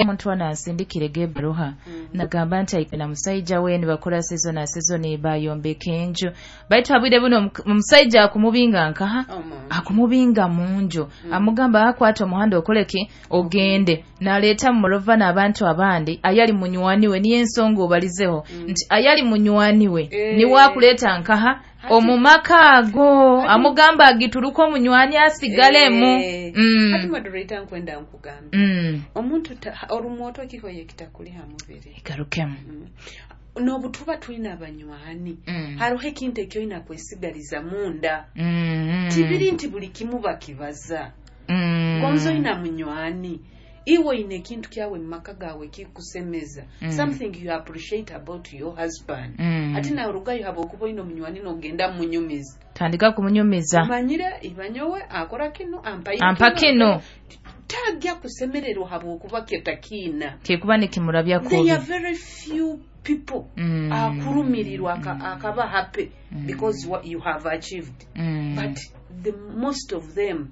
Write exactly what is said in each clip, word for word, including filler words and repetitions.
Omuntu anansindikire ebbaruha nagamba nti aine na musaija we, nibakora season na season, bayombeka enju, baitu habwire buno omu- omusaija akumubinga nkaha? Akumubinga munju. Amugamba akwata omuhanda okoleki, ogende. Naleeta mumovana n'abantu abandi ayali munywani we. Niyo ensonga obalizeho nti ayali munywani we Eh. niwe akuleeta nkaha omu maka ago, amugamba agituruka omunywani asigalemu. Eh. Mm. Hati moderator, nkwenda nkugambe, Mm. omuntu ta- orumwoto ekihoye kitakuliha mubiri. Igarukemu. N'obu tuba tulina abanywani, Mm. hariho ekintu ekyoina kwesigaliza munda. Mm. Tibiri nti buli kimu bakibaza. Mm. Gonza oyina munywani, iwe oyina ekintu kyawe mu maka gawe kikusemeza, Mm. something you appreciate about your husband. Mm. Ate nawe orugayo habwokuba oyina omunywani, nogenda mumunyumiza. Tandika kumunyumiza. Manyire ibanyowe akora kino, ampaire Ampa kino. Tajja kusemererwa habwokuba ketakiina. Kekuba nikimurabya There kubi. are very few people Mm. akurumirirwa aka- akaba happy because what you have achieved, Mm. but the most of them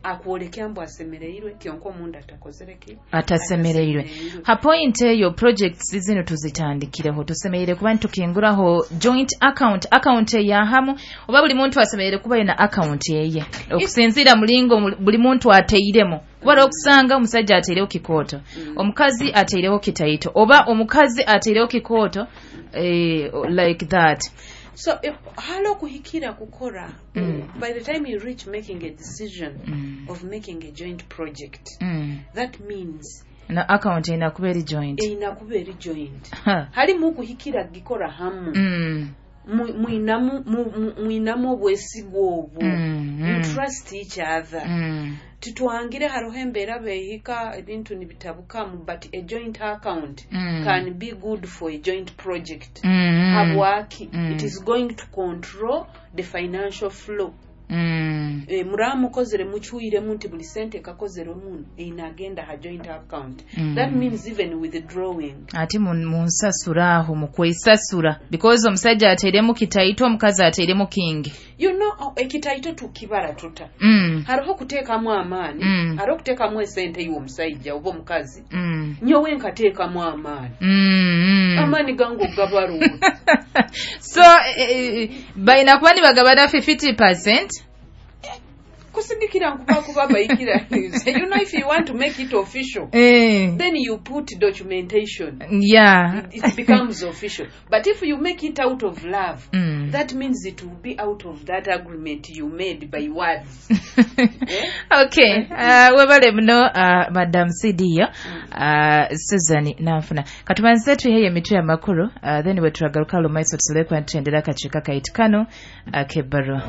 akwolekya mbu asemereirwe, kyonka omundu atakozere ki? Atasemereirwe. Ha point eyo, projects zino tuzitandikireho, tusemereire kuba nitukinguraho joint account, account eyahamu, oba buli muntu asemereire kuba yina account eye okusinziira mulingo mul- buli muntu ateiremu? Kuba okusanga omusajja ateireho kikooto, omukazi ateireho kitaito, oba omukazi ateireho kikooto, eh, like that. So if hali okuhikira kukora, Mm. by the time you reach making a decision Mm. of making a joint project, mm. that means Na account erina kuba eri joint. Erina kuba eri joint. Ha. Halimu okuhikira gikora hamu. Mm. Mu- mwinamu mu- mu- mwinamu obwesigwa obwo. Mm, You mm. trust each other. Mm. Titwangire hariho embeera beehika ebintu nibitabukamu, but a joint account Mm. can be good for a joint project. Mm. Habwaki? Mm. It is going to control the financial flow. Mm. e, muraba mukozere mucwiremu nti buli sente ekakozere muno einagenda ha joint account. Mm. That means even withdrawing. Ate mu mu nsasula aho, mu kwesasula, because omusajja ateiremu kitaito, omukazi ateiremu kingi. You know, oh, ekitaito tukibara tuta? mm. Hariho okuteekamu amaani, Mm. hariho okuteekamu esente iwe omusajja oba omukazi. Mm. Nyowe nkateekamu amaani. Mm. Mm. Amaani gange ogabaruwa. So eh, eh, balina kuba nibagabana fifty percent. Kusigikira nkuba kuba bayikira, you know, if you want to make it official, eh. then you put documentation. yeah it, it becomes official, but if you make it out of love, Mm. that means it will be out of that agreement you made by words. Okay, uh, webale muno, uh, Madam Cdio uh, Susan Nanfuna. Katubanze tuheyo emitwe amakuru, uh, then bwe turagaruka lumaiso tusobole kuba nitutendera akakiiko kaitu kano ak'ebbaluwa.